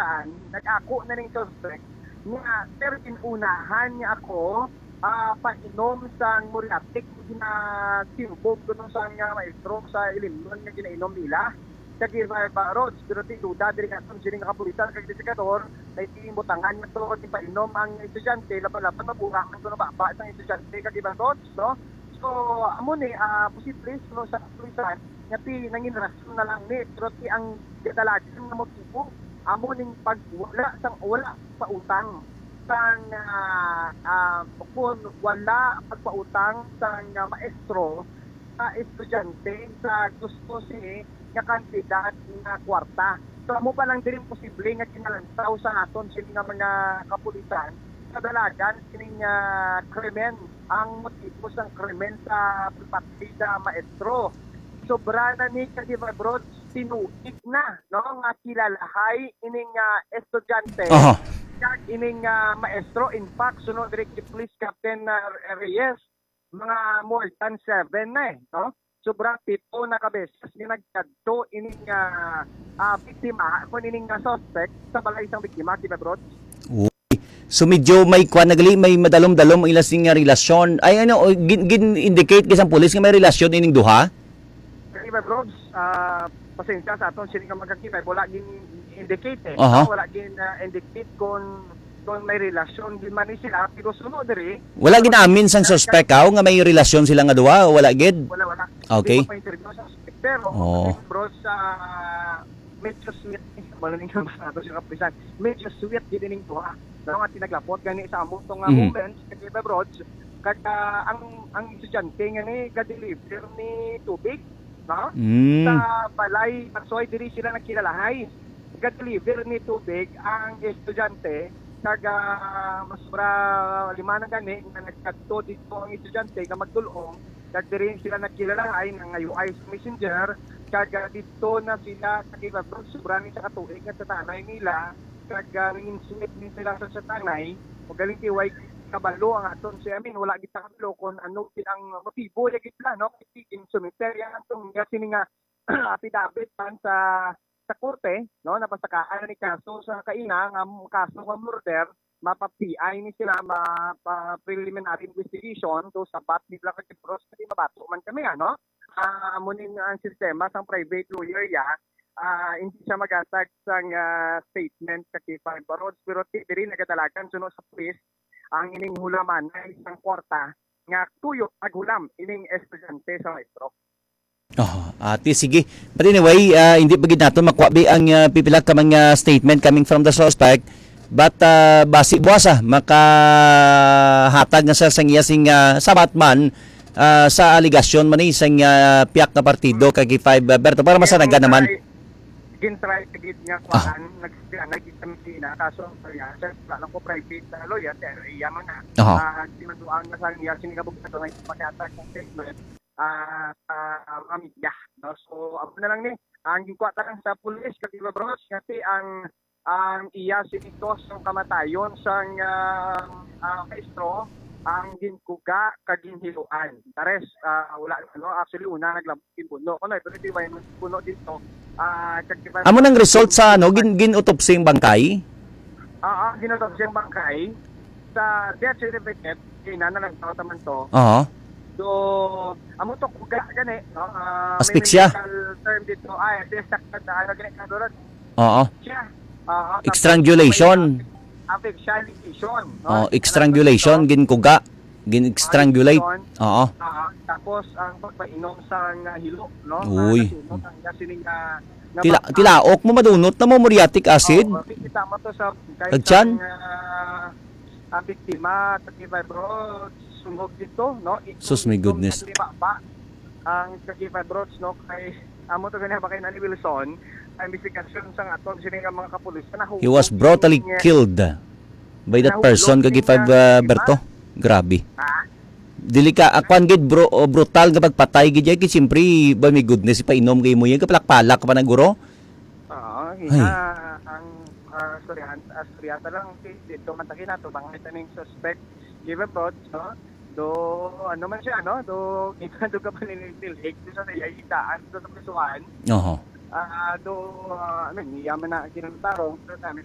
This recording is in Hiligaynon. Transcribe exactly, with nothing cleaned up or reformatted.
kapulisan, nag-ako na ning suspect nga, "Sir, gin-unahan niya ako, ah, painom sang muriatic nga ginatimbog kuno sang, ah, maestro sa ilimnon nga ginainom nila." Kag iba, iba, Rods, pero ti duda diri nga aton sining kapulisan kag investigador, na iti butangan niya to, ipainom ang estudyante, laban-laban mabura man kuno baba sang estudyante kag iba, Rods, no? So, amo ni, ah, posible, no, sa kapulisan, nga ti nangin rason na lang ni, pero ti ang kadalagan nga motibo, amo ning pagwala sang, wala pautang sang, ah, ah, kung wala pagpautang sang, ah, maestro sa estudyante sa gusto sini nga kantidad nga kwarta. So, amo pa lang diri posible nga ginalantaw sa aton sini nga mga kapulisan sa dalagan sining, ah, krimen, ang motibo sang krimen sa pagpatay sa maestro. Sobra na ni, kasi, Rods, tinuig na, no, nga kilalahay ining, ah, estudyante Aha. kag ining, ah, maestro. In fact, suno diri kay Police Captain, ah, Reyes, mga more than seven na, eh, no? Sobra pito na ka beses nga nagkadto ining, ah, ah, biktima, kung ining, ah, suspect sa balay sang biktima, di ba, Rods? Uy. So, medyo may kwan na gali, may madalom-dalom ang ila sing nga relasyon. Ay, ano, o, gin-, gin-indicate ka sang pulis nga may relasyon ining duha? Kay Iba Robs, ah, pasensya sa aton sini nga magkakita, wala gin-indicate, eh. Aha. No? Wala gin, ah, indicate kung, kung may relasyon gid man ni sila, pero suno diri, Wala ginamin sang suspect, aw, nga may relasyon sila nga duha, o wala gid? Wala, wala. Okay. Hindi pa interview sa suspect, pero, Oh. Bro, sa medyo sweet, wala ning mas nato siya kapisan. Medyo sweet gid ining duha. No, nga tinaglapot gani sa amo to nga Mhm. moments, kay Iba Robs, kag, ah, ang, ang estudyante nga ni ga-deliver ni tubig, no? Mm. Sa balay, that's why diri sila nagkilalahay. Ga-deliver ni tubig ang estudyante, kag, ah, mas sobra lima na gani nga nagkadto dito ang estudyante nga magdul-ong, kag diri sila nagkilalahay, nangayuay sa messenger, kag, ah, dito na sila sa Kibabog, sobra ni sa katuig nga sa tanay nila, kag, ah, nangin-sweet din sila sa, sa tanay, o galing ti way kabalo ang aton si, I mean, wala kita kabalo kung ano gid ang motibo niya gid na, no? Kay in cemetery ang atong niya sini nga affidavit man sa, sa korte, no? Napasakaan na ni kaso sa kaina nga m-, kaso nga murder, mapa-P I ni sila, mapa-preliminary investigation, so sabat ni Blanca Quibros, kay mabato man kami, ano? Ah, amo ni ang sistema sang private lawyer, ya, ah, hindi siya magatag sang, ah, statement sa K five Barods, pero ti-, diri nagadalagan suno sa pulis ang ining hulamanay sang kwarta nga tuyo paghulam ining estudyante sa maestro. Oh, ati, sige. But anyway, ah, hindi pa gid nato makuha bi ang, ah, pipila ka mga statement coming from the suspect. But, ah, basi buwas, ah, makahatag na sa, sang iya sing, ah, sabat man, ah, sa alegasyon man ni sang, ah, piyak nga partido kag K five, ah, Berto, para masanagan naman. Gin-try, gin-try gid nga Ah. kuan, nag-, nag-, nag-, kaso ang kanya, sir, wala lang ko private na lawyer, pero iya man na. Aha. Ah, sinuduan na sa niya, sini nga abogado nga ipakita sa statement, ah, sa mga media, no? So, amo na lang ni, ang gikuha ta lang sa pulis, kag iba, bro, kasi ang, ang iya sini to sa kamatayon sang, ah, ah, maestro, ang ginkuga kag ginhiluan. The rest, ah, wala, ano, actually, una, naglabot ginbuno. Kuno, pero di ba yung buno dito? Ah, kag iba, Amo nang result sa, ano, gin-, gin-autopsy ang bangkay? Ah, ah, gin-autopsy ang bangkay. Sa death certificate, ina na lang tawag naman to. Oo. So, amo to kuga gani, no? Ah, may Asphyxia? medical term dito. Ay, asphyxia, ano gani, kadulat? Oo. Siya. Ah, tapos Strangulation. may asphyxiation, no? Oh, strangulation, Strangulation. ginkuga, gin-strangulate. Strangulation. Oo. Ah, tapos ang pagpainom sa nga hilo, no? Uy. Nga nasunog ang nga sining, ah, nga Tila-, bangkay. tilaok mo, madunot na mo, muriatic acid. Oo, makikita mo to sa, kahit Kag tiyan? sa, ah, ang biktima, thirty-five Road, sungog dito, no? Sus, my goodness. Itong sa Baba, ang thirty-five Roads, no? Kay, amo to gani ba kay Nani Wilson, ang investigasyon sa aton, sini nga mga kapulis, na nahulog He was brutally in, killed by that nahulog person, kag in, five, uh, uh, Berto. Grabe. Ha? Dili ka, ah, kwan gid, bro, oh, brutal nga pagpatay gid, kay siyempre, ba, my goodness, ipainom kay mo yan, kapalak-palak pa na, guro. Oo, Ay. ina, ang, ah, istoryahan, ah, istorya ta lang, si, dito man ta kinato, bangay ta ning suspect, given thoughts, no? Do, ano man siya, no? Do, ginado ka pa ni Nilhig, do sa iya, itaan, do sa prisuhan. Oho. Ah, do, ah, I mean, iya man na ginantarong, pero namin,